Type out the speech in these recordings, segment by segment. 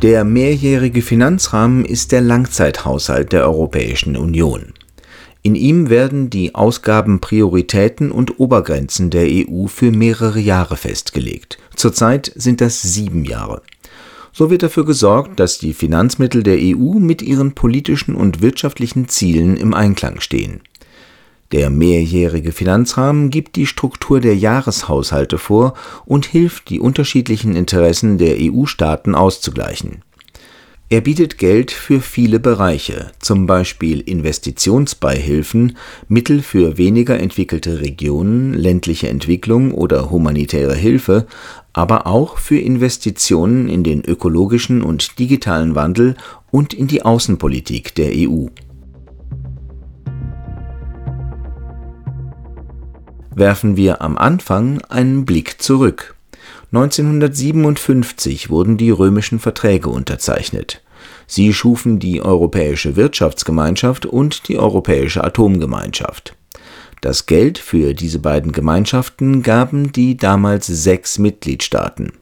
Der mehrjährige Finanzrahmen ist der Langzeithaushalt der Europäischen Union. In ihm werden die Ausgabenprioritäten und Obergrenzen der EU für mehrere Jahre festgelegt. Zurzeit sind das 7 Jahre. So wird dafür gesorgt, dass die Finanzmittel der EU mit ihren politischen und wirtschaftlichen Zielen im Einklang stehen. Der mehrjährige Finanzrahmen gibt die Struktur der Jahreshaushalte vor und hilft, die unterschiedlichen Interessen der EU-Staaten auszugleichen. Er bietet Geld für viele Bereiche, zum Beispiel Investitionsbeihilfen, Mittel für weniger entwickelte Regionen, ländliche Entwicklung oder humanitäre Hilfe, aber auch für Investitionen in den ökologischen und digitalen Wandel und in die Außenpolitik der EU. Werfen wir am Anfang einen Blick zurück. 1957 wurden die Römischen Verträge unterzeichnet. Sie schufen die Europäische Wirtschaftsgemeinschaft und die Europäische Atomgemeinschaft. Das Geld für diese beiden Gemeinschaften gaben die damals 6 Mitgliedstaaten.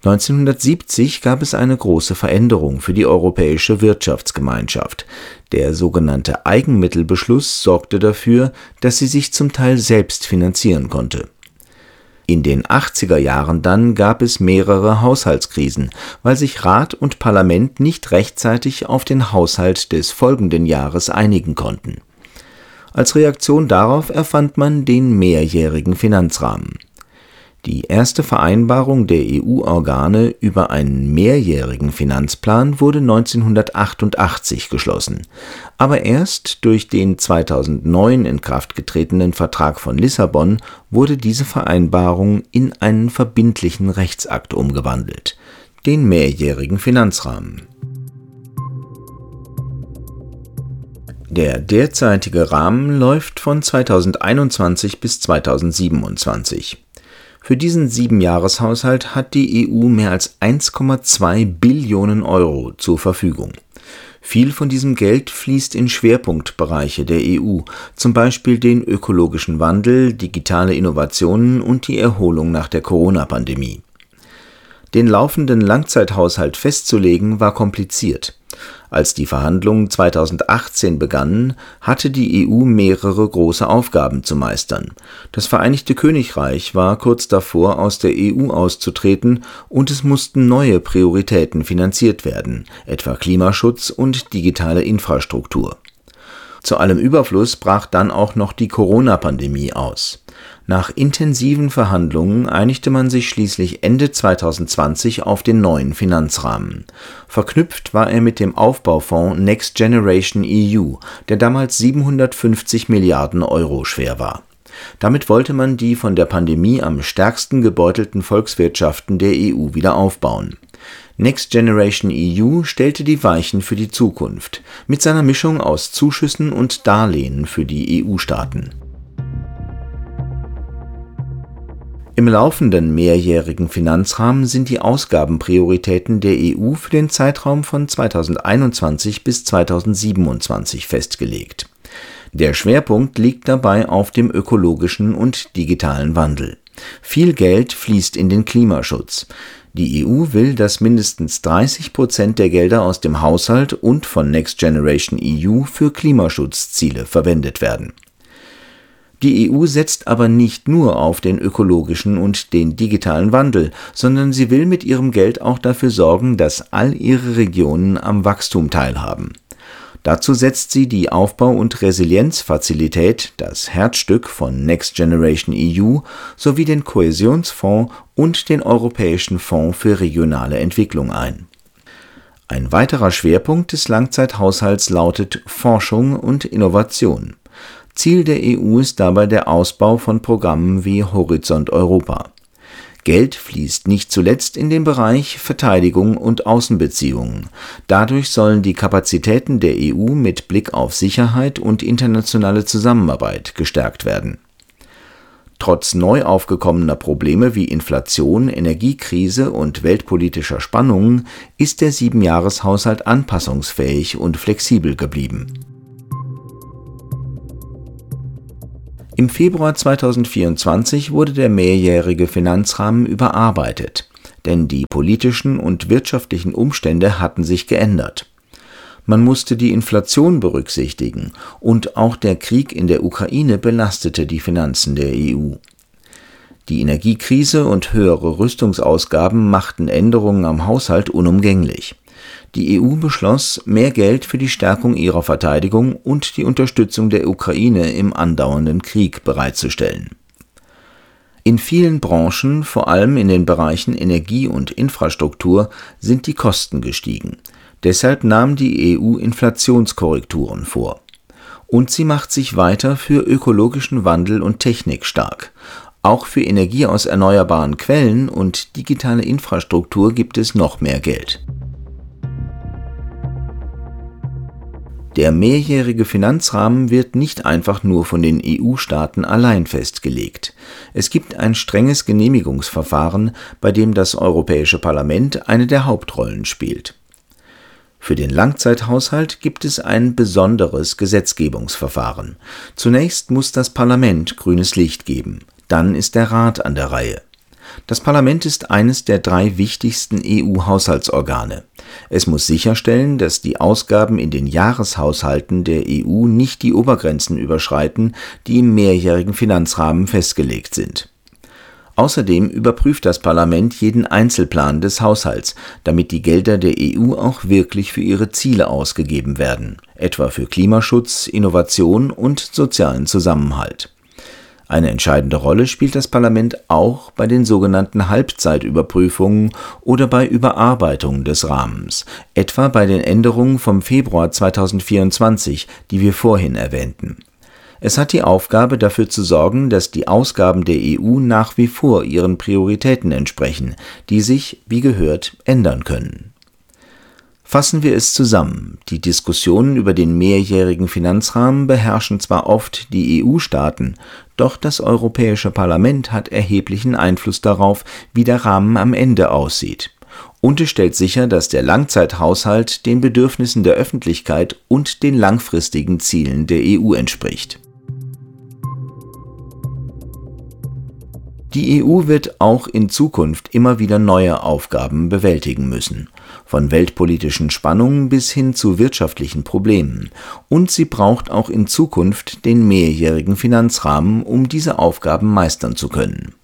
1970 gab es eine große Veränderung für die Europäische Wirtschaftsgemeinschaft. Der sogenannte Eigenmittelbeschluss sorgte dafür, dass sie sich zum Teil selbst finanzieren konnte. In den 80er Jahren dann gab es mehrere Haushaltskrisen, weil sich Rat und Parlament nicht rechtzeitig auf den Haushalt des folgenden Jahres einigen konnten. Als Reaktion darauf erfand man den mehrjährigen Finanzrahmen. Die erste Vereinbarung der E U-Organe über einen mehrjährigen Finanzplan wurde 1988 geschlossen. Aber erst durch den 2009 in Kraft getretenen Vertrag von Lissabon wurde diese Vereinbarung in einen verbindlichen Rechtsakt umgewandelt, den mehrjährigen Finanzrahmen. Der derzeitige Rahmen läuft von 2021 bis 2027. Für diesen 7-Jahres-Haushalt hat die EU mehr als 1,2 Billionen Euro zur Verfügung. Viel von diesem Geld fließt in Schwerpunktbereiche der EU, zum Beispiel den ökologischen Wandel, digitale Innovationen und die Erholung nach der Corona-Pandemie. Den laufenden Langzeithaushalt festzulegen, war kompliziert. Als die Verhandlungen 2018 begannen, hatte die EU mehrere große Aufgaben zu meistern. Das Vereinigte Königreich war kurz davor, aus der EU auszutreten, und es mussten neue Prioritäten finanziert werden, etwa Klimaschutz und digitale Infrastruktur. Zu allem Überfluss brach dann auch noch die Corona-Pandemie aus. Nach intensiven Verhandlungen einigte man sich schließlich Ende 2020 auf den neuen Finanzrahmen. Verknüpft war er mit dem Aufbaufonds Next Generation EU, der damals 750 Milliarden Euro schwer war. Damit wollte man die von der Pandemie am stärksten gebeutelten Volkswirtschaften der EU wieder aufbauen. Next Generation EU stellte die Weichen für die Zukunft, mit seiner Mischung aus Zuschüssen und Darlehen für die E U-Staaten. Im laufenden mehrjährigen Finanzrahmen sind die Ausgabenprioritäten der EU für den Zeitraum von 2021 bis 2027 festgelegt. Der Schwerpunkt liegt dabei auf dem ökologischen und digitalen Wandel. Viel Geld fließt in den Klimaschutz. Die EU will, dass mindestens 30% der Gelder aus dem Haushalt und von Next Generation EU für Klimaschutzziele verwendet werden. Die EU setzt aber nicht nur auf den ökologischen und den digitalen Wandel, sondern sie will mit ihrem Geld auch dafür sorgen, dass all ihre Regionen am Wachstum teilhaben. Dazu setzt sie die Aufbau- und Resilienzfazilität, das Herzstück von Next Generation EU, sowie den Kohäsionsfonds und den Europäischen Fonds für regionale Entwicklung ein. Ein weiterer Schwerpunkt des Langzeithaushalts lautet Forschung und Innovation. Ziel der EU ist dabei der Ausbau von Programmen wie Horizont Europa. Geld fließt nicht zuletzt in den Bereich Verteidigung und Außenbeziehungen. Dadurch sollen die Kapazitäten der EU mit Blick auf Sicherheit und internationale Zusammenarbeit gestärkt werden. Trotz neu aufgekommener Probleme wie Inflation, Energiekrise und weltpolitischer Spannungen ist der 7-Jahres-Haushalt anpassungsfähig und flexibel geblieben. Im Februar 2024 wurde der mehrjährige Finanzrahmen überarbeitet. Denn die politischen und wirtschaftlichen Umstände hatten sich geändert. Man musste die Inflation berücksichtigen und auch der Krieg in der Ukraine belastete die Finanzen der EU. Die Energiekrise und höhere Rüstungsausgaben machten Änderungen am Haushalt unumgänglich. Die EU beschloss, mehr Geld für die Stärkung ihrer Verteidigung und die Unterstützung der Ukraine im andauernden Krieg bereitzustellen. In vielen Branchen, vor allem in den Bereichen Energie und Infrastruktur, sind die Kosten gestiegen. Deshalb nahm die EU Inflationskorrekturen vor. Und sie macht sich weiter für ökologischen Wandel und Technik stark. Auch für Energie aus erneuerbaren Quellen und digitale Infrastruktur gibt es noch mehr Geld. Der mehrjährige Finanzrahmen wird nicht einfach nur von den EU-Staaten allein festgelegt. Es gibt ein strenges Genehmigungsverfahren, bei dem das Europäische Parlament eine der Hauptrollen spielt. Für den Langzeithaushalt gibt es ein besonderes Gesetzgebungsverfahren. Zunächst muss das Parlament grünes Licht geben, dann ist der Rat an der Reihe. Das Parlament ist eines der drei wichtigsten EU-Haushaltsorgane. Es muss sicherstellen, dass die Ausgaben in den Jahreshaushalten der EU nicht die Obergrenzen überschreiten, die im mehrjährigen Finanzrahmen festgelegt sind. Außerdem überprüft das Parlament jeden Einzelplan des Haushalts, damit die Gelder der EU auch wirklich für ihre Ziele ausgegeben werden, etwa für Klimaschutz, Innovation und sozialen Zusammenhalt. Eine entscheidende Rolle spielt das Parlament auch bei den sogenannten Halbzeitüberprüfungen oder bei Überarbeitungen des Rahmens, etwa bei den Änderungen vom Februar 2024, die wir vorhin erwähnten. Es hat die Aufgabe, dafür zu sorgen, dass die Ausgaben der EU nach wie vor ihren Prioritäten entsprechen, die sich, wie gehört, ändern können. Fassen wir es zusammen: Die Diskussionen über den mehrjährigen Finanzrahmen beherrschen zwar oft die EU-Staaten, doch das Europäische Parlament hat erheblichen Einfluss darauf, wie der Rahmen am Ende aussieht. Und es stellt sicher, dass der Langzeithaushalt den Bedürfnissen der Öffentlichkeit und den langfristigen Zielen der EU entspricht. Die EU wird auch in Zukunft immer wieder neue Aufgaben bewältigen müssen, von weltpolitischen Spannungen bis hin zu wirtschaftlichen Problemen, und sie braucht auch in Zukunft den mehrjährigen Finanzrahmen, um diese Aufgaben meistern zu können.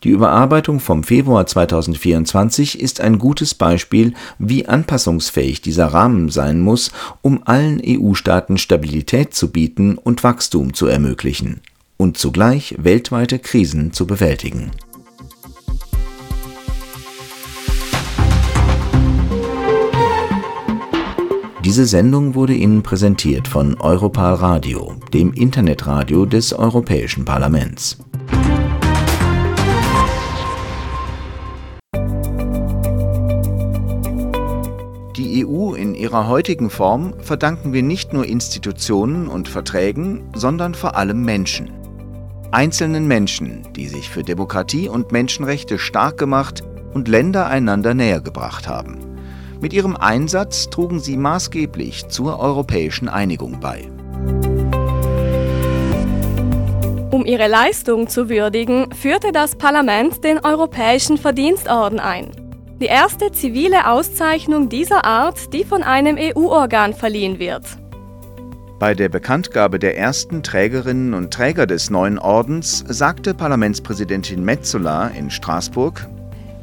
Die Überarbeitung vom Februar 2024 ist ein gutes Beispiel, wie anpassungsfähig dieser Rahmen sein muss, um allen EU-Staaten Stabilität zu bieten und Wachstum zu ermöglichen und zugleich weltweite Krisen zu bewältigen. Diese Sendung wurde Ihnen präsentiert von Europal Radio, dem Internetradio des Europäischen Parlaments. Die EU in ihrer heutigen Form verdanken wir nicht nur Institutionen und Verträgen, sondern vor allem Menschen. Einzelnen Menschen, die sich für Demokratie und Menschenrechte stark gemacht und Länder einander näher gebracht haben. Mit ihrem Einsatz trugen sie maßgeblich zur europäischen Einigung bei. Um ihre Leistung zu würdigen, führte das Parlament den Europäischen Verdienstorden ein. Die erste zivile Auszeichnung dieser Art, die von einem EU-Organ verliehen wird. Bei der Bekanntgabe der ersten Trägerinnen und Träger des neuen Ordens sagte Parlamentspräsidentin Metsola in Straßburg: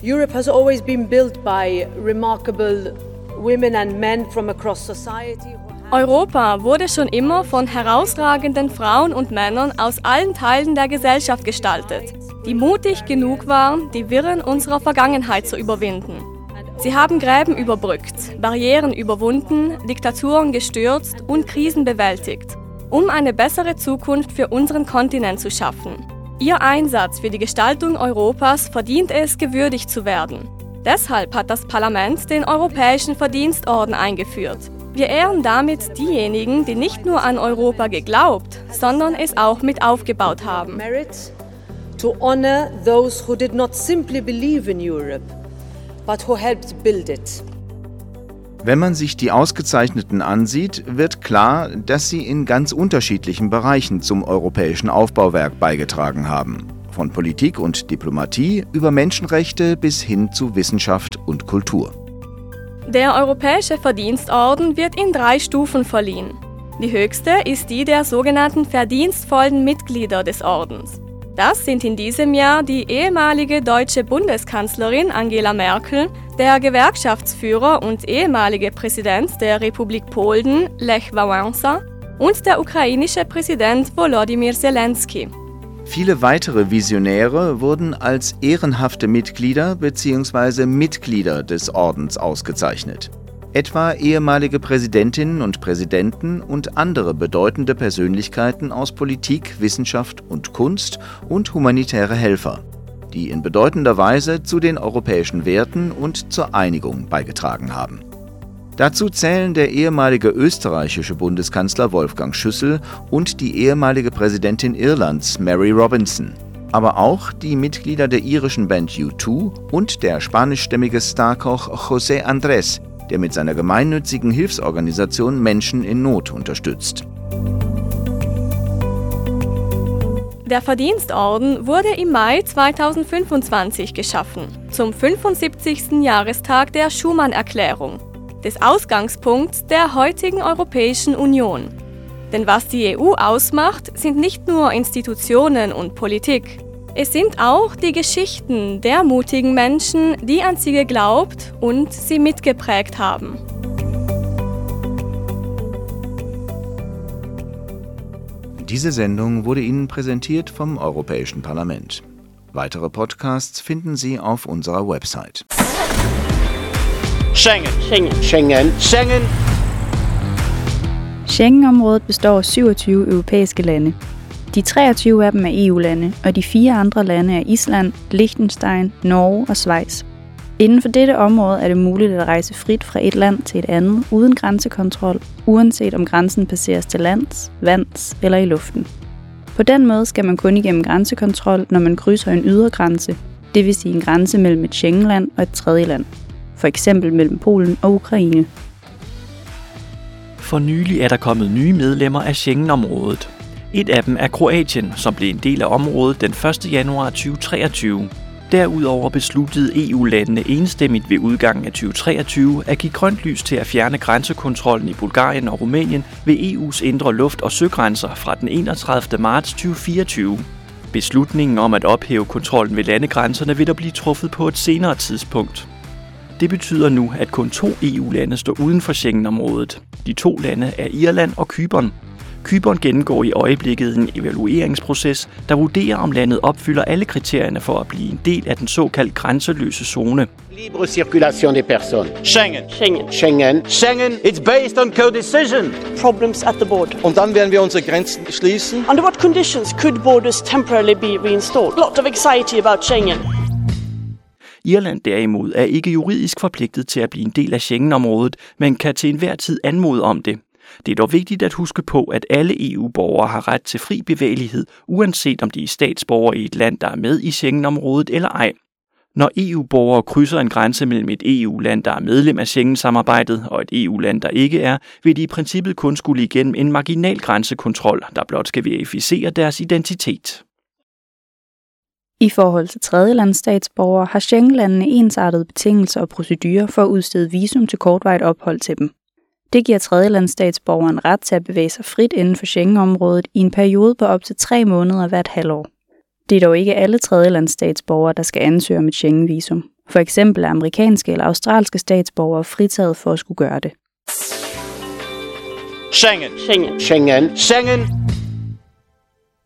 Europe has always been built by remarkable women and men from across society. Europa wurde schon immer von herausragenden Frauen und Männern aus allen Teilen der Gesellschaft gestaltet, die mutig genug waren, die Wirren unserer Vergangenheit zu überwinden. Sie haben Gräben überbrückt, Barrieren überwunden, Diktaturen gestürzt und Krisen bewältigt, um eine bessere Zukunft für unseren Kontinent zu schaffen. Ihr Einsatz für die Gestaltung Europas verdient es, gewürdigt zu werden. Deshalb hat das Parlament den Europäischen Verdienstorden eingeführt. Wir ehren damit diejenigen, die nicht nur an Europa geglaubt, sondern es auch mit aufgebaut haben. To honor those who did not simply believe in Europe, but who helped build it. Wenn man sich die Ausgezeichneten ansieht, wird klar, dass sie in ganz unterschiedlichen Bereichen zum europäischen Aufbauwerk beigetragen haben. Von Politik und Diplomatie über Menschenrechte bis hin zu Wissenschaft und Kultur. Der Europäische Verdienstorden wird in drei Stufen verliehen. Die höchste ist die der sogenannten verdienstvollen Mitglieder des Ordens. Das sind in diesem Jahr die ehemalige deutsche Bundeskanzlerin Angela Merkel, der Gewerkschaftsführer und ehemalige Präsident der Republik Polen Lech Wałęsa und der ukrainische Präsident Volodymyr Zelensky. Viele weitere Visionäre wurden als ehrenhafte Mitglieder bzw. Mitglieder des Ordens ausgezeichnet. Etwa ehemalige Präsidentinnen und Präsidenten und andere bedeutende Persönlichkeiten aus Politik, Wissenschaft und Kunst und humanitäre Helfer, die in bedeutender Weise zu den europäischen Werten und zur Einigung beigetragen haben. Dazu zählen der ehemalige österreichische Bundeskanzler Wolfgang Schüssel und die ehemalige Präsidentin Irlands Mary Robinson, aber auch die Mitglieder der irischen Band U2 und der spanischstämmige Starkoch José Andrés, der mit seiner gemeinnützigen Hilfsorganisation Menschen in Not unterstützt. Der Verdienstorden wurde im Mai 2025 geschaffen, zum 75. Jahrestag der Schuman-Erklärung, des Ausgangspunkts der heutigen Europäischen Union. Denn was die EU ausmacht, sind nicht nur Institutionen und Politik. Es sind auch die Geschichten der mutigen Menschen, die an sie geglaubt und sie mitgeprägt haben. Diese Sendung wurde Ihnen präsentiert vom Europäischen Parlament. Weitere Podcasts finden Sie auf unserer Website. Schengen. Schengen. Schengen. Schengen. Schengenområdet består af 27 europæiske lande. De 23 af dem er EU-lande, og de fire andre lande er Island, Liechtenstein, Norge og Schweiz. Inden for dette område er det muligt at rejse frit fra et land til et andet uden grænsekontrol, uanset om grænsen passeres til lands, vands eller i luften. På den måde skal man kun igennem grænsekontrol, når man krydser en ydre grænse, det vil sige en grænse mellem et Schengenland og et tredje land, for eksempel mellem Polen og Ukraine. For nylig er der kommet nye medlemmer af Schengenområdet. Et af dem er Kroatien, som blev en del af området den 1. januar 2023. Derudover besluttede EU-landene enstemmigt ved udgangen af 2023 at give grønt lys til at fjerne grænsekontrollen i Bulgarien og Rumænien ved EU's indre luft- og søgrænser fra den 31. marts 2024. Beslutningen om at ophæve kontrollen ved landegrænserne vil der blive truffet på et senere tidspunkt. Det betyder nu, at kun to EU-lande står uden for Schengenområdet. De to lande er Irland og Cypern. Cypern gennemgår i øjeblikket en evalueringsproces, der vurderer, om landet opfylder alle kriterierne for at blive en del af den såkaldt grænseløse zone. Libre circulation des personnes. Schengen. Schengen. Schengen. Schengen. It's based on co-decision. Problems at the border. Und dann werden wir unsere Grenzen schließen. Under what conditions could borders temporarily be reinstalled? Lot of anxiety about Schengen. Irland derimod er ikke juridisk forpligtet til at blive en del af Schengenområdet, men kan til enhver tid anmode om det. Det er dog vigtigt at huske på, at alle EU-borgere har ret til fri bevægelighed, uanset om de er statsborgere i et land, der er med i Schengenområdet eller ej. Når EU-borgere krydser en grænse mellem et EU-land, der er medlem af Schengen-samarbejdet, og et EU-land, der ikke er, vil de i princippet kun skulle igennem en marginal grænsekontrol, der blot skal verificere deres identitet. I forhold til tredjelandsstatsborgere har Schengenlandene ensartede betingelser og procedurer for at udstede visum til kortvarigt ophold til dem. Det giver tredjelandsstatsborgeren ret til at bevæge sig frit inden for Schengenområdet i en periode på op til 3 måneder hvert halvår. Det er dog ikke alle tredjelandsstatsborgere, der skal ansøge om et Schengenvisum. For eksempel er amerikanske eller australske statsborgere fritaget for at skulle gøre det. Schengen. Schengen. Schengen. Schengen.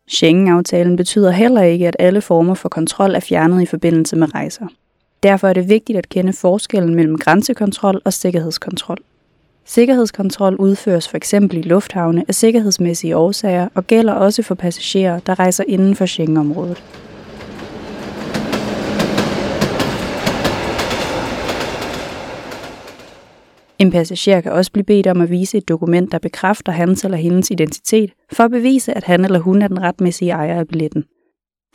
Schengen-aftalen betyder heller ikke, at alle former for kontrol er fjernet i forbindelse med rejser. Derfor er det vigtigt at kende forskellen mellem grænsekontrol og sikkerhedskontrol. Sikkerhedskontrol udføres for eksempel i lufthavne af sikkerhedsmæssige årsager og gælder også for passagerer, der rejser inden for Schengenområdet. En passager kan også blive bedt om at vise et dokument, der bekræfter hans eller hendes identitet, for at bevise, at han eller hun er den retmæssige ejer af billetten.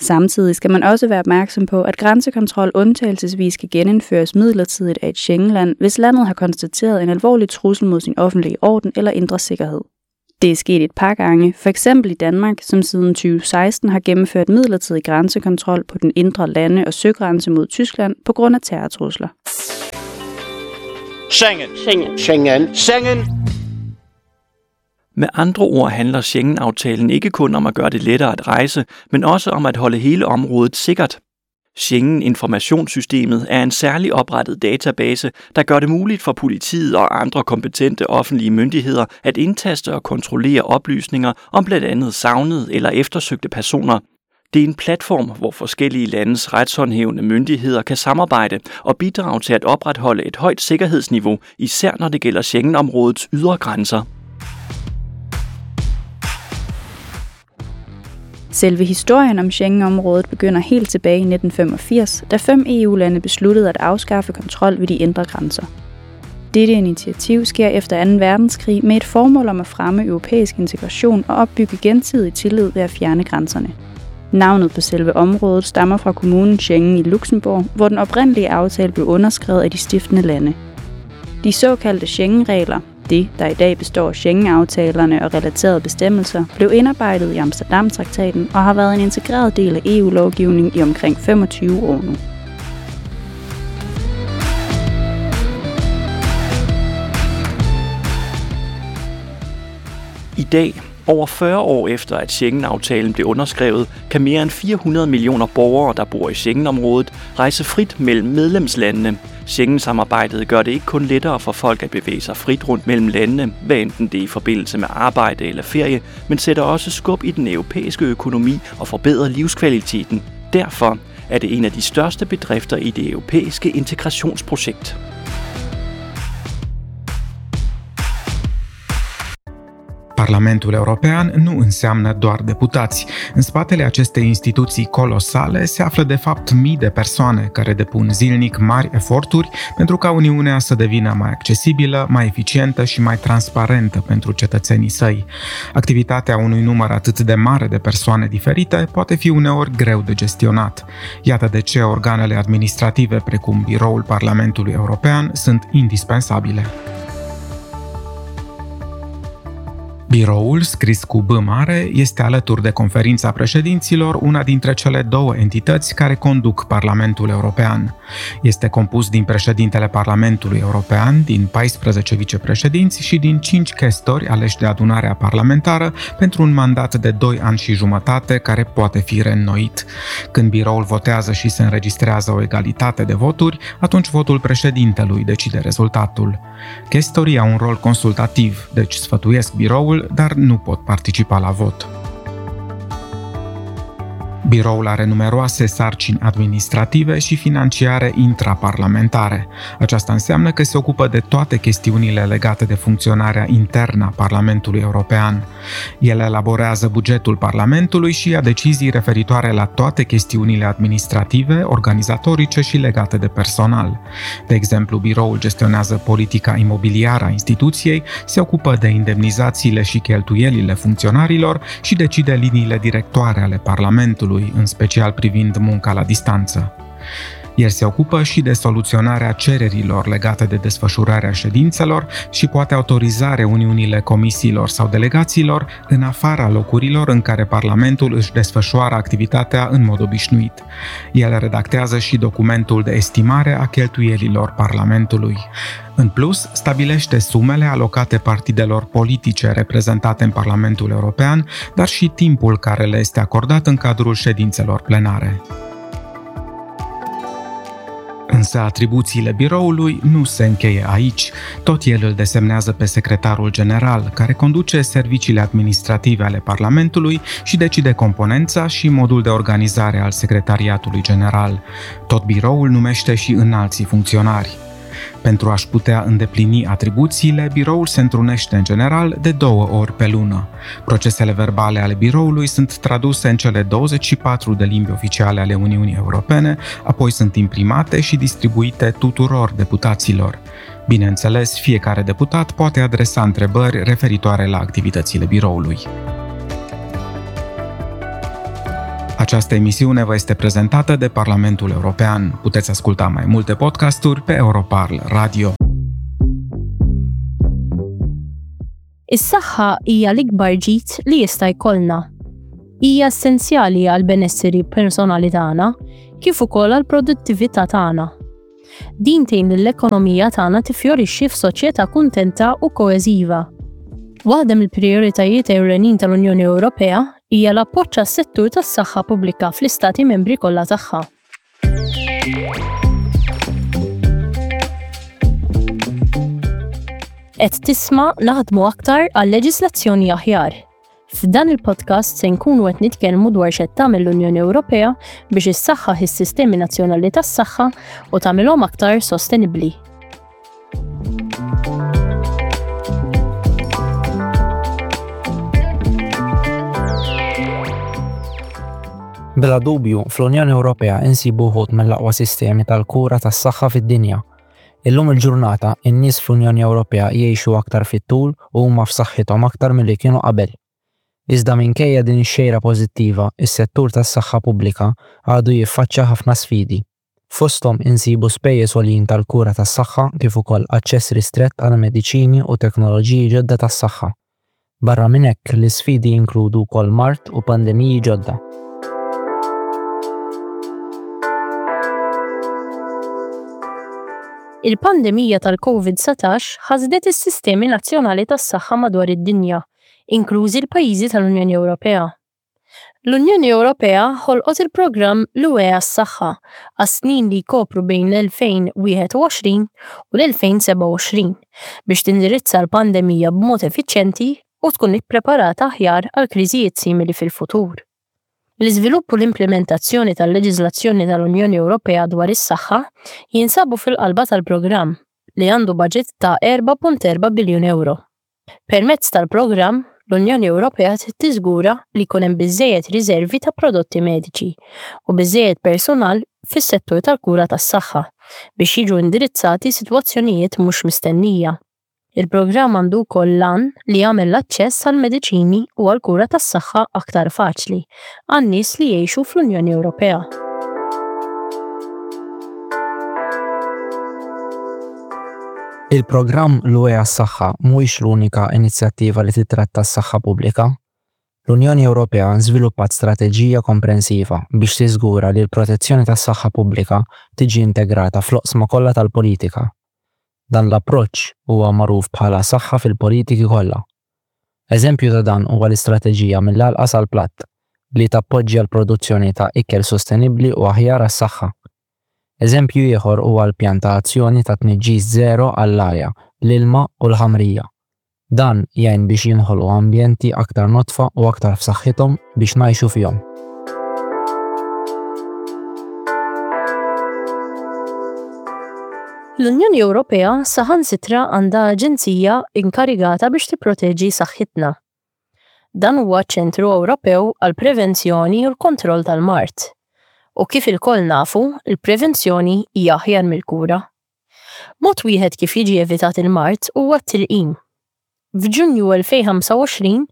Samtidig skal man også være opmærksom på, at grænsekontrol undtagelsesvis kan genindføres midlertidigt af et Schengenland, hvis landet har konstateret en alvorlig trussel mod sin offentlige orden eller indre sikkerhed. Det er sket et par gange, for eksempel i Danmark, som siden 2016 har gennemført midlertidig grænsekontrol på den indre lande- og søgrænse mod Tyskland på grund af terrortrusler. Schengen. Schengen. Schengen. Schengen. Med andre ord handler Schengen-aftalen ikke kun om at gøre det lettere at rejse, men også om at holde hele området sikkert. Schengen-informationssystemet er en særlig oprettet database, der gør det muligt for politiet og andre kompetente offentlige myndigheder at indtaste og kontrollere oplysninger om blandt andet savnede eller eftersøgte personer. Det er en platform, hvor forskellige landes retshåndhævende myndigheder kan samarbejde og bidrage til at opretholde et højt sikkerhedsniveau, især når det gælder Schengen-områdets ydre grænser. Selve historien om Schengen-området begynder helt tilbage i 1985, da 5 EU-lande besluttede at afskaffe kontrol ved de indre grænser. Dette initiativ sker efter 2. verdenskrig med et formål om at fremme europæisk integration og opbygge gensidig tillid ved at fjerne grænserne. Navnet på selve området stammer fra kommunen Schengen i Luxembourg, hvor den oprindelige aftale blev underskrevet af de stiftende lande. De såkaldte Schengen-regler, det der i dag består af Schengen-aftalerne og relaterede bestemmelser, blev indarbejdet i Amsterdam-traktaten og har været en integreret del af EU-lovgivningen i omkring 25 år nu. I dag, over 40 år efter at Schengen-aftalen blev underskrevet, kan mere end 400 millioner borgere, der bor i Schengen-området, rejse frit mellem medlemslandene. Schengen-samarbejdet gør det ikke kun lettere for folk at bevæge sig frit rundt mellem landene, hvad enten det er i forbindelse med arbejde eller ferie, men sætter også skub i den europæiske økonomi og forbedrer livskvaliteten. Derfor er det en af de største bedrifter i det europæiske integrationsprojekt. Parlamentul European nu înseamnă doar deputați. În spatele acestei instituții colosale se află de fapt mii de persoane care depun zilnic mari eforturi pentru ca Uniunea să devină mai accesibilă, mai eficientă și mai transparentă pentru cetățenii săi. Activitatea unui număr atât de mare de persoane diferite poate fi uneori greu de gestionat. Iată de ce organele administrative, precum Biroul Parlamentului European, sunt indispensabile. Biroul, scris cu B mare, este alături de Conferința Președinților una dintre cele două entități care conduc Parlamentul European. Este compus din președintele Parlamentului European, din 14 vicepreședinți și din 5 chestori aleși de adunarea parlamentară pentru un mandat de 2 ani și jumătate care poate fi reînnoit. Când biroul votează și se înregistrează o egalitate de voturi, atunci votul președintelui decide rezultatul. Chestorii au un rol consultativ, deci sfătuiesc biroul, dar nu pot participa la vot. Biroul are numeroase sarcini administrative și financiare intraparlamentare. Aceasta înseamnă că se ocupă de toate chestiunile legate de funcționarea internă a Parlamentului European. El elaborează bugetul Parlamentului și ia decizii referitoare la toate chestiunile administrative, organizatorice și legate de personal. De exemplu, biroul gestionează politica imobiliară a instituției, se ocupă de indemnizațiile și cheltuielile funcționarilor și decide liniile directoare ale Parlamentului, în special privind munca la distanță. El se ocupă și de soluționarea cererilor legate de desfășurarea ședințelor și poate autoriza reuniunile comisiilor sau delegațiilor în afara locurilor în care Parlamentul își desfășoară activitatea în mod obișnuit. El redactează și documentul de estimare a cheltuielilor Parlamentului. În plus, stabilește sumele alocate partidelor politice reprezentate în Parlamentul European, dar și timpul care le este acordat în cadrul ședințelor plenare. Însă atribuțiile biroului nu se încheie aici. Tot el îl desemnează pe secretarul general, care conduce serviciile administrative ale Parlamentului și decide componența și modul de organizare al secretariatului general. Tot biroul numește și înalții funcționari. Pentru a-și putea îndeplini atribuțiile, biroul se întrunește în general de 2 ori pe lună. Procesele verbale ale biroului sunt traduse în cele 24 de limbi oficiale ale Uniunii Europene, apoi sunt imprimate și distribuite tuturor deputaților. Bineînțeles, fiecare deputat poate adresa întrebări referitoare la activitățile biroului. Această emisiune vă este prezentată de Parlamentul European. Puteți asculta mai multe podcasturi pe Europarl Radio. Is-saħħa hija l-ikbar ġid li jista' jkollna. Hija essenzjali għall-benesseri personali tagħna kif ukoll għall-produttività tagħna. Din tgħin lill-ekonomija tagħna tiffjorixxi f'soċjetà kuntenta u koeżiva. Waħda mill-prijoritajiet ewlenin tal-Unjoni Ewropea hija l-appoġġ għas-settur tas-saħħa pubblika fl-Istati Membri kollha tagħha. Qed tisma' Naħdmu Aktar għal Leġislazzjoni Aħjar. F'dan il-podcast se nkunu qed nitkellmu dwar x'qed tagħmel l-Unjoni Ewropea biex issaħħaħ is-sistemi nazzjonali tas-saħħa u tagħmilhom aktar sostenibbli. Bla dubju, fl-Unjoni Ewropea insibu wħud mill-aqwa sistemi tal-kura tas-saħħa fid-dinja. Illum il-ġurnata, in-nies fl-Unjoni Ewropea jgħixu aktar fit-tul u huma f'saħħithom aktar milli kienu qabel. Iżda minkejja din ix-xejra pożittiva, is-settur tas-saħħa pubblika għadu jiffaċċja ħafna sfidi. Fosthom insibu spejjeż għoljin tal-kura tas-saħħa kif ukoll aċċess ristrett għal mediċini u teknoloġiji ġodda tas-saħħa. Barra minn hekk, l-isfidi jinkludu wkoll mard u pandemiji ġodda. Il-pandemija tal-Covid-19 ħasdet is-sistemi nazzjonali tas-saħħa madwar id-dinja, inklużi l-pajjiżi tal-Unjoni Ewropea. L-Unjoni Ewropea ħolqot il-programm L-UE għas-Saħħa għas-snin li jkopru bejn l-2021 u l-2027 biex tindirizza l-pandemija b'mod effiċjenti u tkun ippreparata aħjar għal kriżijiet simili fil-futur. L-iżvilupp u l-implimentazzjoni tal-leġiżlazzjoni tal-Unjoni Ewropea dwar is-saħħa jinsabu fil-qalba tal-programm, li għandu baġit ta' 4.4 biljun ewro. Permezz tal-programm, l-Unjoni Ewropea trid tiżgura li jkun hemm biżżejjed riżervi ta' prodotti mediċi u biżżejjed persunal fis-settur tal-kura tas-saħħa biex jiġu indirizzati sitwazzjonijiet mhux mistennija. Il-programm għandu wkoll l-għan li jagħmel l-aċċess għall-mediċini u għall-kura tas-saħħa aktar faċli għan-nies li jgħixu fl-Unjoni Ewropea. Il-programm L-UE għas-Saħħa mhuwiex l-unika inizjattiva li tittratta s-saħħa pubblika. L-Unjoni Ewropea żviluppat strateġija komprensiva biex tiżgura li l-protezzjoni tas-saħħa pubblika tiġi integrata fl-oqsma kollha tal-politika. Dan l-approċċ huwa magħruf bħala saħħa fil-politiki kollha. Eżempju ta' dan huwa l-istrateġija Mill-Għalqa sal-Platt, li tappoġġja l-produzzjoni ta' ikel sostenibbli u aħjar għas-saħħa. Eżempju ieħor huwa l-Pjan ta' Azzjoni ta' Tniġġis Żero għall-Arja, l-Ilma u l-Ħamrija. Dan jgħin biex jinħolqu ambjenti aktar nodfa u aktar f'saħħithom biex ngħixu fihom. L-Unjoni Ewropea saħansitra għandha aġenzija inkarigata biex tipproteġi saħħitna. Dan huwa ċ-Ċentru Ewropew għall-Prevenzjoni u l-Kontroll tal-Mard. U kif ilkoll nafu, il-prevenzjoni hija aħjar mill-kura. Mod wieħed kif jiġi evitat il-mard huwa t-tilqim. F'Ġunju 2025,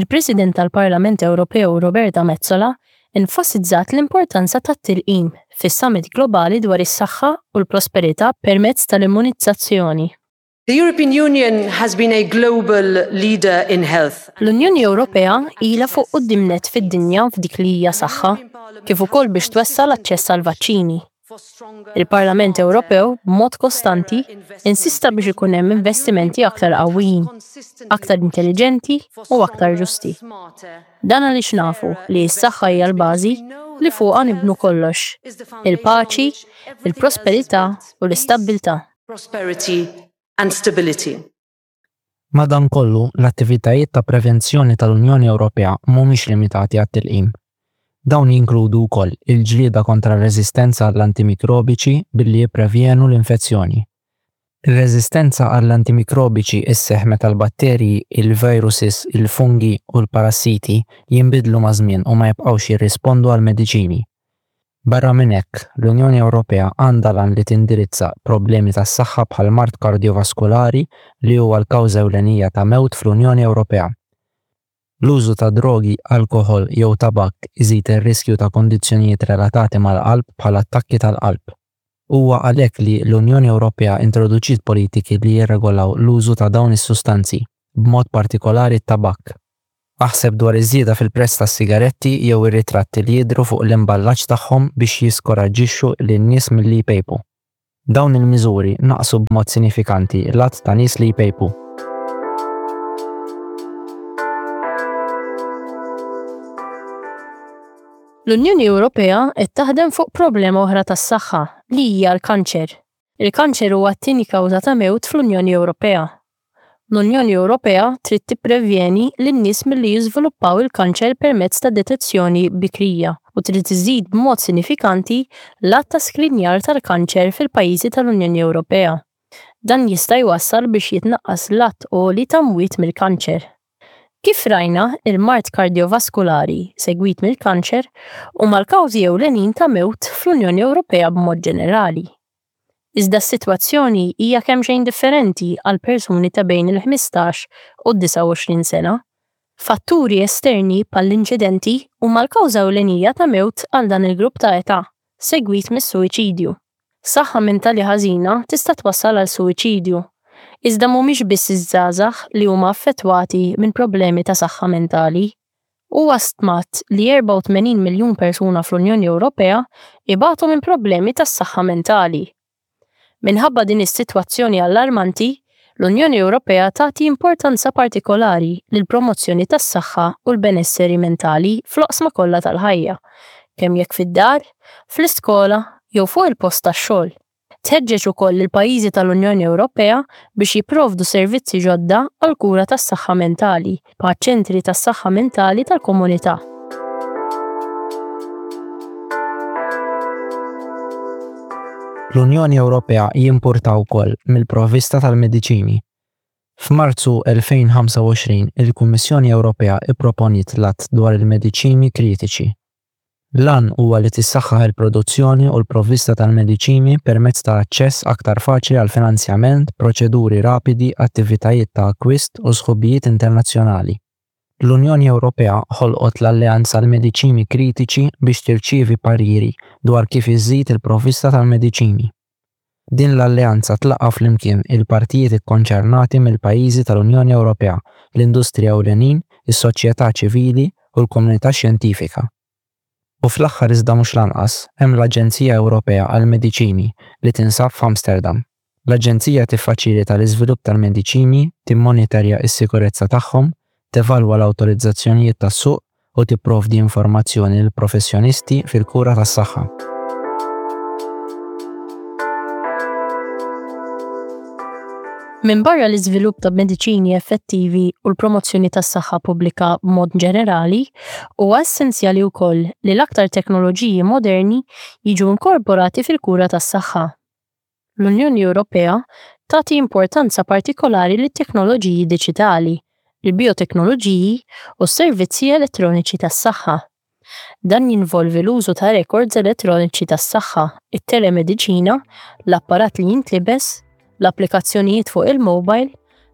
il-President tal-Parlament Ewropew Roberta Metsola enfasizzat l-importanza tat-tilqim fis-Summit Globali dwar is-Saħħa u l-Prosperità permezz tal-Immunizzazzjoni. The European Union has been a global leader in health. L-Unjoni Ewropea ilha fuq quddiem nett fid-dinja f'dik li hija saħħa, kif ukoll biex twessa' l-aċċess għall-vaċċini. Il-Parlament Ewropew, b'mod kostanti, insista biex ikun hemm investimenti aktar qawwijin, aktar intelliġenti u aktar ġusti. Dan għaliex nafu li s-saħħa hija l-bażi li fuqha nibnu kollox, il-paċi, il-prosperità u l-istabbiltà. prosperity and stability. Madankollu, l-attivitajiet ta' prevenzjoni tal-Unjoni Ewropea mhumiex limitati għat-tilqim. Dawn jinkludu wkoll il-ġlieda kontra r-reżistenza għall-antimikrobiċi billi jipprevjenu l-infezzjoni. Ir-reżistenza għall-antimikrobiċi sseħħ meta l-batterji, il-viruses, il-fungi u l-parassiti jinbidlu maż-żmien u ma jibqgħux jirrispondu għall-mediċini. Barra minn hekk, l-Unjoni Ewropea għandha l-għan li tindirizza problemi tas-saħħa bħall-mard kardjovaskulari li huwa l-kawża ewlenija ta' mewt fl-Unjoni Ewropea. L-użu ta' drogi, alkoħol jew tabakk iżid ir-riskju ta' kundizzjonijiet relatati mal-qalb bħal attakki tal-qalb. Huwa għalhekk li l-Unjoni Ewropea introduċiet politiki li jirregolaw l-użu ta' dawn is-sustanzi. b'mod partikolari t-tabakk. Aħseb dwar iż-żieda fil-prezz tas-sigaretti jew ir-ritratti li jidhru fuq l-imballaġġ tagħhom biex jiskoraġġixxu lin-nies milli jpejpu. Dawn il-miżuri naqqsu b'mod sinifikanti l-għadd ta' nies li jpejpu. L-Unjoni Ewropea qed taħdem fuq problema oħra tas-saħħa, li hija l-kanċer. Il-kanċer huwa t-tieni kawża ta' mewt fl-Unjoni Ewropea. L-Unjoni Ewropea trid tipprevjeni lin-nies milli jiżviluppaw il-kanċer permezz ta' detezzjoni bikrija u trid iżżid b'mod sinifikanti l-għadd ta' skrinjar tal-kanċer fil-pajjiżi tal-Unjoni Ewropea. Dan jista' jwassal biex jitnaqqas l-għadd għoli ta' mwiet mill-kanċer. Kif rajna, il-mard kardjovaskulari, segwit mill-kanċer, huma l-kawżi ewlenin ta' mewt fl-Unjoni Ewropea b'mod ġenerali. Iżda s-sitwazzjoni hija kemxejn differenti għal persuni ta' bejn il-15 u d-29 sena. Fatturi esterni bħall-inċidenti huma l-kawża ewlenija ta' mewt għal dan il-grupp ta' età, segwit mis-suwiċidju. Saħħa mentali ħażina tista' twassal għal suwiċidju. Iżda mhumiex biss iż-żgħażagħ li huma affettwati minn problemi ta' saħħa mentali. Huwa stmat li 84 miljun persuna fl-Unjoni Ewropea ibatu minn problemi tas-saħħa mentali. Minħabba din is-sitwazzjoni allarmanti, l-Unjoni Ewropea tagħti importanza partikolari lill-promozzjoni tas-saħħa u l-benesseri mentali fl-oqsma kollha tal-ħajja, kemm jekk fid-dar, fl-iskola jew fuq il-post tax-xogħol. Tħeġġeġ ukoll lill-pajjiżi tal-Unjoni Ewropea biex jipprovdu servizzi ġodda għall-kura tas-saħħa mentali, bħaċ-ċentri tas-saħħa mentali tal-komunità. L-Unjoni Ewropea jimpurta wkoll mill-provvista tal-mediċini. F'Marzu 2025, il-Kummissjoni Ewropea pproponiet l-Att dwar il-Mediċini Kritiċi. L-għan huwa li tissaħħaħ il-produzzjoni u l-provvista tal-mediċini permezz ta' aċċess aktar faċli għall-finanzjament, proċeduri rapidi, attivitajiet ta' akkwist u sħubijiet internazzjonali. L-Unjoni Ewropea ħolqot l-Alleanza għall-Mediċini Kritiċi biex tirċievi pariri dwar kif iżżid il-provvista tal-mediċini. Din l-alleanza tlaqqa' flimkien il-partijiet ikkonċernati mill-pajjiżi tal-Unjoni Ewropea, l-industrija ewlenin, is-soċjetà ċivili u l-komunità xjentifika. U fl-aħħar iżda mhux l-anqas, hemm l-Aġenzija Ewropea għall-Mediċini li tinsab f'Amsterdam. L-aġenzija tiffaċilita l-iżvilupp tal-mediċini, timmonitorja s-sikurezza tagħhom, tevalwa l-awtorizzazzjonijiet tas-suq u tipprovdi informazzjoni lill-professjonisti fil-kura tas-saħħa. Minbarra l-iżvilupp ta' mediċini effettivi u l-promozzjoni tas-saħħa pubblika b'mod ġenerali, huwa essenzjali wkoll li l-aktar teknoloġiji moderni jiġu inkorporati fil-kura tas-saħħa. L-Unjoni Ewropea tagħti importanza partikolari lit-teknoloġiji diġitali, il-bijoteknoloġiji u s-servizzi elettroniċi tas-saħħa. Dan jinvolvi l-użu ta' rekords elettroniċi tas-saħħa, it-telemediċina, l-apparat li jintlibes, l-applikazzjonijiet fuq il-mowbajl,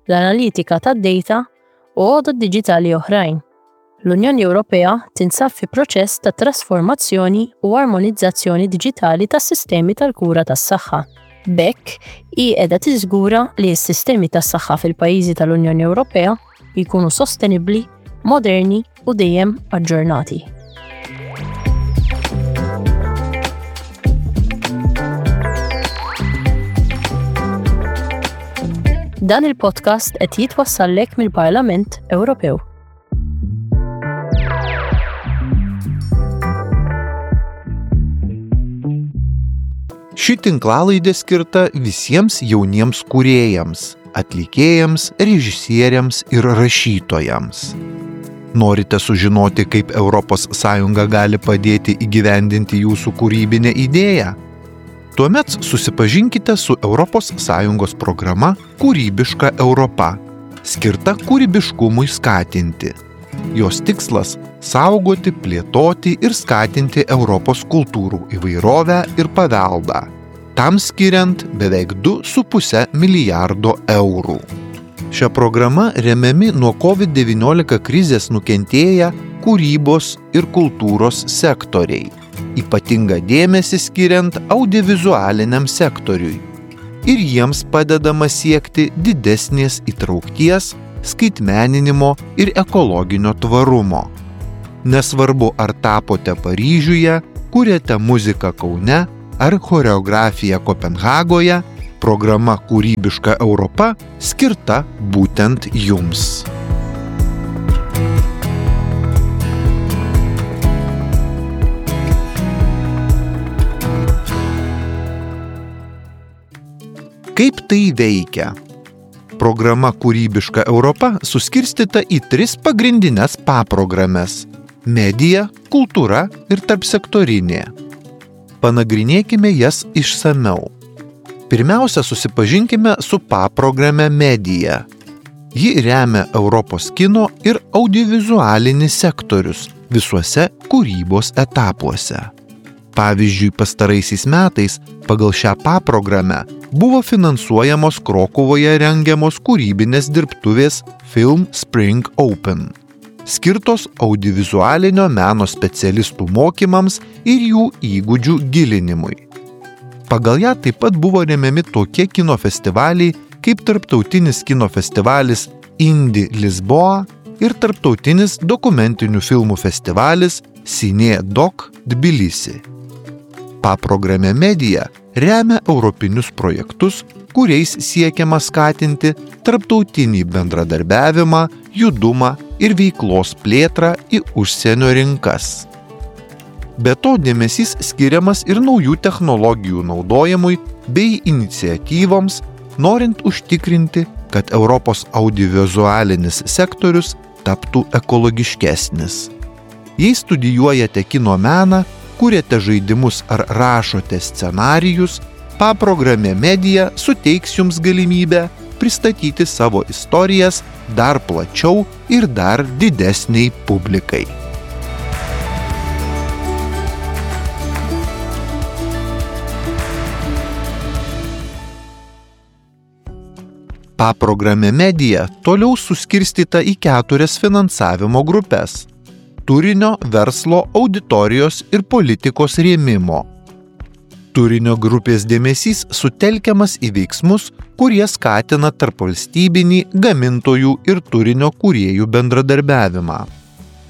l-analitika tad-dejta u għodod diġitali oħrajn. L-Unjoni Ewropea tinsab fi proċess ta' trasformazzjoni u armonizzazzjoni diġitali tas-sistemi tal-kura tas-saħħa. B'hekk, hi qiegħda tiżgura li s-sistemi tas-saħħa fil-pajjiżi tal-Unjoni Ewropea jkunu sostenibbli, moderni u dejjem aġġornati. Dan il-podcast qed jitwassallek mill-Parlament Ewropew. Ši tinklalaidė skirta visiems jauniems kūrėjams, atlikėjams, režisieriams ir rašytojams. Norite sužinoti, kaip ES gali padėti įgyvendinti jūsų kūrybinę idėją? Tuomet susipažinkite su ES programa Kūrybiška Europa, skirta kūrybiškumui skatinti. Jos tikslas - saugoti, plėtoti ir skatinti Europos kultūrų įvairovę ir paveldą, tam skiriant beveik 2,5 milijardo eurų. Šia programa remiami nuo COVID-19 krizės nukentėję kūrybos ir kultūros sektoriai, ypatingą dėmesį skiriant audiovizualiniam sektoriui. Ir jiems padedama siekti didesnės įtraukties, skaitmeninimo ir ekologinio tvarumo. Nesvarbu, ar tapote Paryžiuje, kuriate muziką Kaune ar choreografiją Kopenhagoje, programa Kūrybiška Europa skirta būtent jums. Kaip tai veikia? Programa Kūrybiška Europa suskirstyta į tris pagrindines paprogrames – media, kultūra ir tarpsektorinė. Panagrinėkime jas išsamiau. Pirmiausia, susipažinkime su paprograme Media. Ji remia Europos kino ir audiovizualinį sektorius visuose kūrybos etapuose. Pavyzdžiui, pastaraisiais metais pagal šią paprogramę buvo finansuojamos Krokuvoje rengiamos kūrybinės dirbtuvės Film Spring Open, skirtos audiovizualinio meno specialistų mokymams ir jų įgūdžių gilinimui. Pagal ją taip pat buvo remiami tokie kino festivaliai kaip Tarptautinis kino festivalis Indie Lisboa ir Tarptautinis dokumentinių filmų festivalis Cine Doc Tbilisi. Paprogramė Media remia europinius projektus, kuriais siekiama skatinti tarptautinį bendradarbiavimą, judumą ir veiklos plėtrą į užsienio rinkas. Be to dėmesys skiriamas ir naujų technologijų naudojimui bei iniciatyvoms, norint užtikrinti, kad Europos audiovizualinis sektorius taptų ekologiškesnis. Jei studijuojate kino meną, kuriate žaidimus ar rašote scenarijus, paprogramė Media suteiks jums galimybę pristatyti savo istorijas dar plačiau ir dar didesnei publikai. Paprogramė Media toliau suskirstyta į keturias finansavimo grupes – turinio, verslo, auditorijos ir politikos rėmimo. Turinio grupės dėmesys sutelkiamas į veiksmus, kurie skatina tarpvalstybinį gamintojų ir turinio kūrėjų bendradarbiavimą.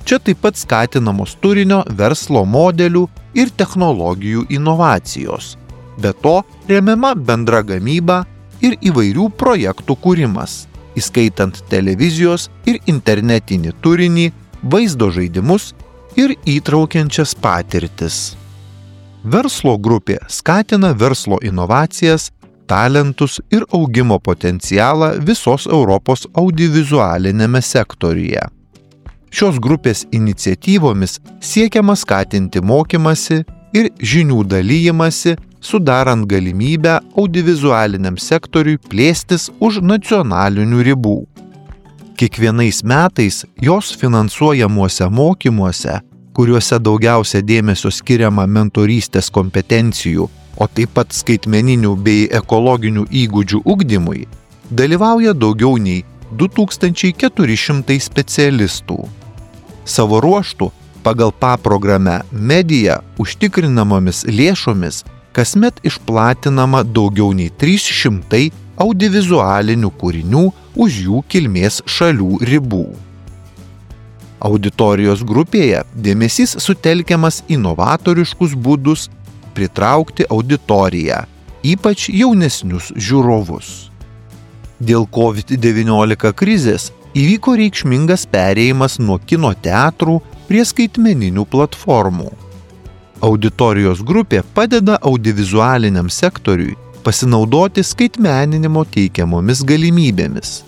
Čia taip pat skatinamos turinio, verslo modelių ir technologijų inovacijos. Be to, remiama bendra gamyba ir įvairių projektų kūrimas, įskaitant televizijos ir internetinį turinį, vaizdo žaidimus ir įtraukiančias patirtis. Verslo grupė skatina verslo inovacijas, talentus ir augimo potencialą visos Europos audiovizualiniame sektoriuje. Šios grupės iniciatyvomis siekiama skatinti mokymąsi ir žinių dalijimąsi, sudarant galimybę audiovizualiniam sektoriui plėstis už nacionalinių ribų. Kiekvienais metais jos finansuojamuose mokymuose, kuriuose daugiausia dėmesio skiriama mentorystės kompetencijų, o taip pat skaitmeninių bei ekologinių įgūdžių ugdymui, dalyvauja daugiau nei 2400 specialistų. Savo ruožtu, pagal paprogramę Media užtikrinamomis lėšomis kasmet išplatinama daugiau nei 300 audiovizualinių kūrinių už jų kilmės šalių ribų. Auditorijos grupėje dėmesys sutelkiamas į novatoriškus būdus pritraukti auditoriją, ypač jaunesnius žiūrovus. Dėl COVID-19 krizės įvyko reikšmingas perėjimas nuo kino teatrų prie skaitmeninių platformų. Auditorijos grupė padeda audiovizualiniam sektoriui pasinaudoti skaitmeninimo teikiamomis galimybėmis.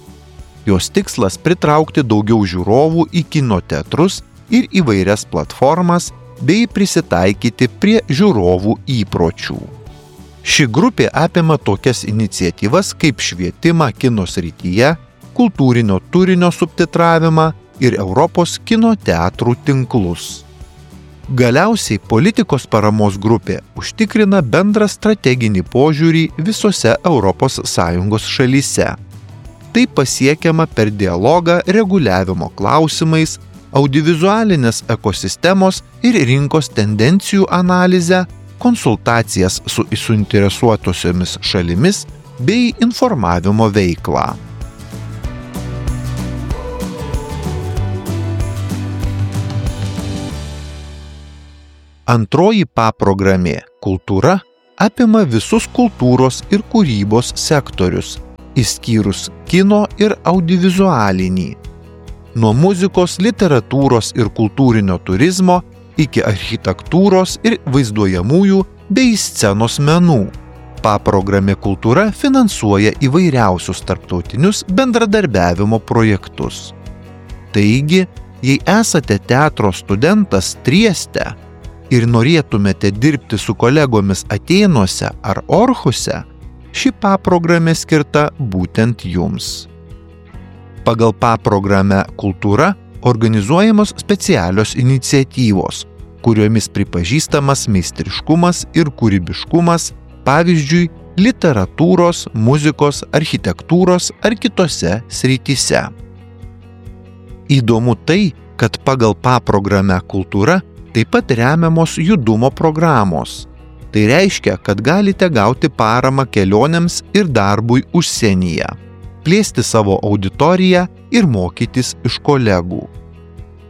Jos tikslas pritraukti daugiau žiūrovų į kino teatrus ir įvairias platformas bei prisitaikyti prie žiūrovų įpročių. Ši grupė apima tokias iniciatyvas kaip švietimą kino srityje, kultūrinio turinio subtitravimą ir Europos kino teatrų tinklus. Galiausiai politikos paramos grupė užtikrina bendrą strateginį požiūrį visose ES šalyse. Tai pasiekiama per dialogą reguliavimo klausimais, audiovizualinės ekosistemos ir rinkos tendencijų analizę, konsultacijas su suinteresuotosiomis šalimis bei informavimo veiklą. Antroji paprogramė Kultūra apima visus kultūros ir kūrybos sektorius, išskyrus kino ir audiovizualinį. Nuo muzikos, literatūros ir kultūrinio turizmo iki architektūros ir vaizduojamųjų bei scenos menų. Paprogramė Kultūra finansuoja įvairiausius tarptautinius bendradarbiavimo projektus. Taigi, jei esate teatro studentas Trieste ir norėtumėte dirbti su kolegomis Atėnuose ar Orhuse, ši paprogramė skirta būtent jums. Pagal paprogramę Kultūra organizuojamos specialios iniciatyvos, kuriomis pripažįstamas meistriškumas ir kūrybiškumas, pavyzdžiui, literatūros, muzikos, architektūros ar kitose srityse. Įdomu tai, kad pagal paprogramę Kultūra taip pat remiamos judumo programos. Tai reiškia, kad galite gauti paramą kelionėms ir darbui užsienyje, plėsti savo auditoriją ir mokytis iš kolegų.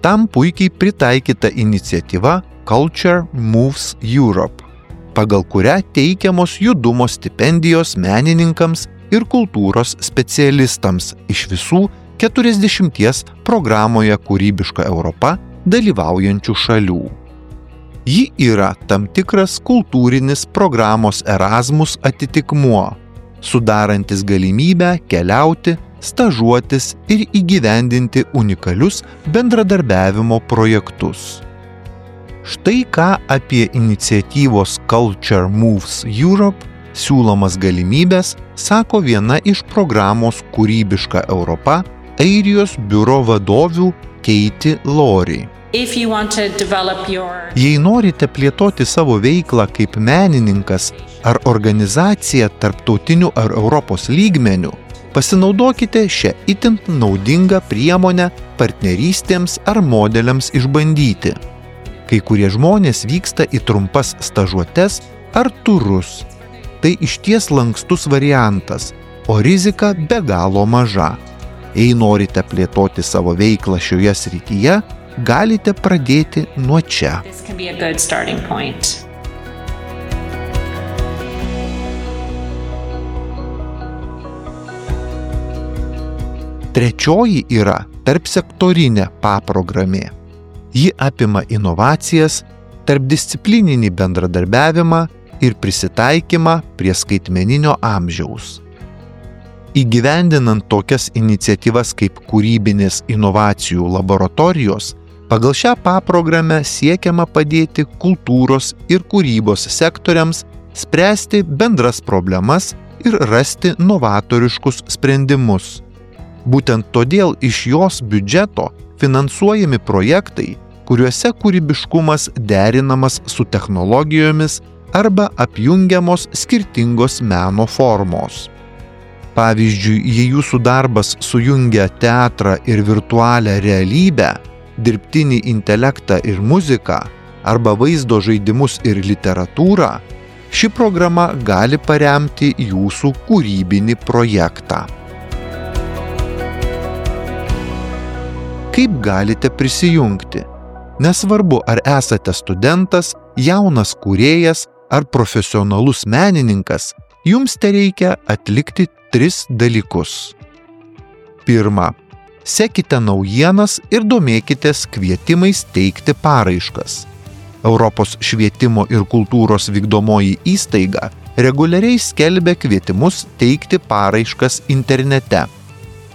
Tam puikiai pritaikyta iniciatyva Culture Moves Europe, pagal kurią teikiamos judumo stipendijos menininkams ir kultūros specialistams iš visų 40 programoje Kūrybiška Europa dalyvaujančių šalių. Ji yra tam tikras kultūrinis programos Erasmus atitikmuo, sudarantis galimybę keliauti, stažuotis ir įgyvendinti unikalius bendradarbiavimo projektus. Štai ką apie iniciatyvos Culture Moves Europe siūlomas galimybes sako viena iš programos Kūrybiška Europa Airijos biuro vadovių Katie Laurie. Jei norite plėtoti savo veiklą kaip menininkas ar organizaciją tarptautiniu ar Europos lygmeniu, pasinaudokite šią itin naudingą priemonę partnerystėms ar modeliams išbandyti. Kai kurie žmonės vyksta į trumpas stažuotes ar turus. Tai išties lankstus variantas, o rizika be galo maža. Jei norite plėtoti savo veiklą šioje srityje, galite pradėti nuo čia. Trečioji yra tarpsektorinė paprogramė. Ji apima inovacijas, tarpdisciplininį bendradarbiavimą ir prisitaikymą prie skaitmeninio amžiaus. Įgyvendinant tokias iniciatyvas kaip kūrybinės inovacijų laboratorijos, pagal šią paprogramę siekiama padėti kultūros ir kūrybos sektoriams spręsti bendras problemas ir rasti novatoriškus sprendimus. Būtent todėl iš jos biudžeto finansuojami projektai, kuriuose kūrybiškumas derinamas su technologijomis arba apjungiamos skirtingos meno formos. Pavyzdžiui, jei jūsų darbas sujungia teatrą ir virtualią realybę, dirbtinį intelektą ir muziką, arba vaizdo žaidimus ir literatūrą, ši programa gali paremti jūsų kūrybinį projektą. Kaip galite prisijungti? Nesvarbu, ar esate studentas, jaunas kūrėjas ar profesionalus menininkas, jums tereikia atlikti 3 dalykus. Pirma, sekite naujienas ir domėkitės kvietimais teikti paraiškas. Europos švietimo ir kultūros vykdomoji įstaiga reguliariai skelbia kvietimus teikti paraiškas internete.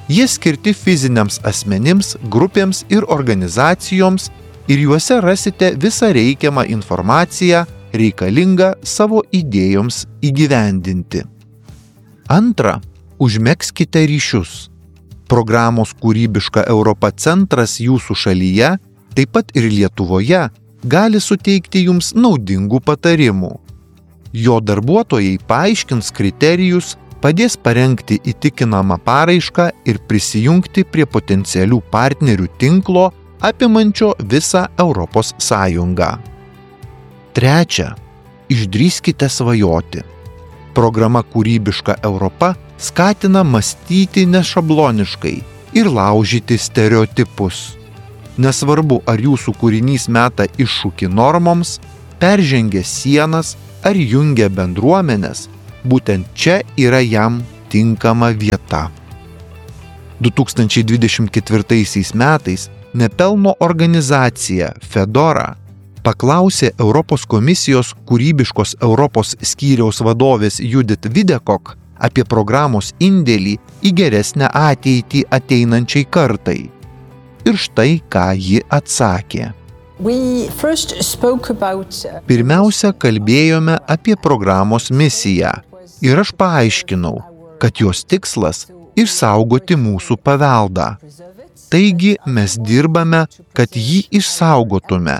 Jie skirti fiziniams asmenims, grupėms ir organizacijoms ir juose rasite visą reikiamą informaciją reikalingą savo idėjoms įgyvendinti. Antra, užmegzkite ryšius. Programos Kūrybiška Europa centras jūsų šalyje, taip pat ir Lietuvoje, gali suteikti jums naudingų patarimų. Jo darbuotojai paaiškins kriterijus, padės parengti įtikinamą paraišką ir prisijungti prie potencialių partnerių tinklo apimančio visą Europos Sąjungą. Trečia, išdrįskite svajoti. Programa Kūrybiška Europa skatina mąstyti nešabloniškai ir laužyti stereotipus. Nesvarbu, ar jūsų kūrinys meta iššūkį normoms, peržengia sienas ar jungia bendruomenes, būtent čia yra jam tinkama vieta. 2024 metais nepelno organizacija Fedora paklausė Europos komisijos kūrybiškos Europos skyriaus vadovės Judith Videkok apie programos indėlį į geresnę ateitį ateinančiai kartai. Ir štai ką ji atsakė. Pirmiausia, kalbėjome apie programos misiją ir aš paaiškinau, kad jos tikslas – išsaugoti mūsų paveldą. Taigi mes dirbame, kad jį išsaugotume,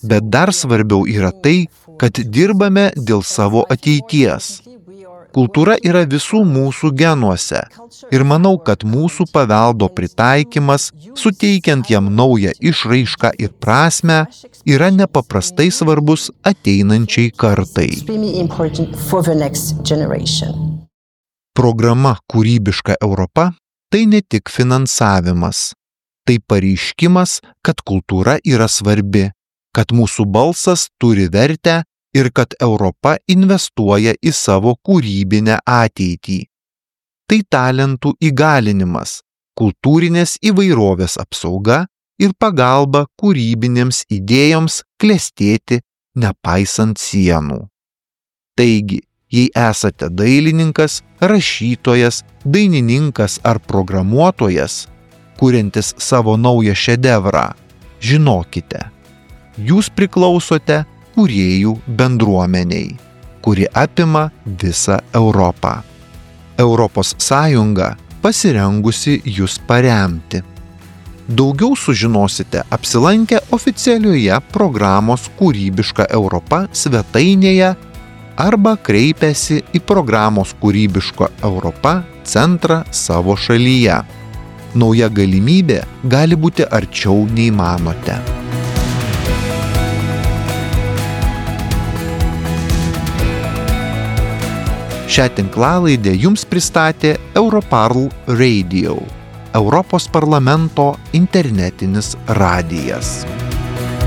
bet dar svarbiau yra tai, kad dirbame dėl savo ateities. Kultūra yra visų mūsų genuose ir manau, kad mūsų paveldo pritaikymas, suteikiant jam naują išraišką ir prasmę, yra nepaprastai svarbus ateinančiai kartai. Programa Kūrybiška Europa tai ne tik finansavimas, tai pareiškimas, kad kultūra yra svarbi, kad mūsų balsas turi vertę ir kad Europa investuoja į savo kūrybinę ateitį. Tai talentų įgalinimas, kultūrinės įvairovės apsauga ir pagalba kūrybinėms idėjoms klestėti nepaisant sienų. Taigi, jei esate dailininkas, rašytojas, dainininkas ar programuotojas, kuriantis savo naują šedevrą, žinokite, jūs priklausote kūrėjų bendruomenei, kuri apima visą Europą. Europos Sąjunga pasirengusi jus paremti. Daugiau sužinosite apsilankę oficialioje programos Kūrybiška Europa svetainėje arba kreipęsi į programos Kūrybiška Europa centrą savo šalyje. Nauja galimybė gali būti arčiau nei manote. Šią tinklalaidę jums pristatė Europarl Radio, Europos parlamento internetinis radijas.